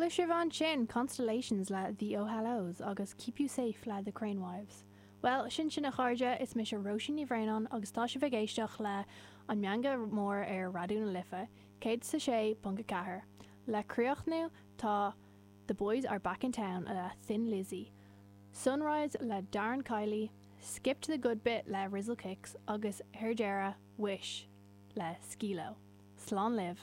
Chuala sibh ansin Constellations le The Oh Hellos agus Keep You Safe le The Crane Wives. Bhuel, sin sin a chairde, is mise Róisín Ní Bhraonáin agus tá sibh ag éisteacht le An Meangadh Mór ar Raidió na Life, 106.4. Le críochnú tá The Boys Are Back in Town le Thin Lizzy, Sunrise le Darren Kiely, Skip to the Good Bit le Rizzle Kicks agus ar deireadh, Wish le Skee-Lo. Slán libh!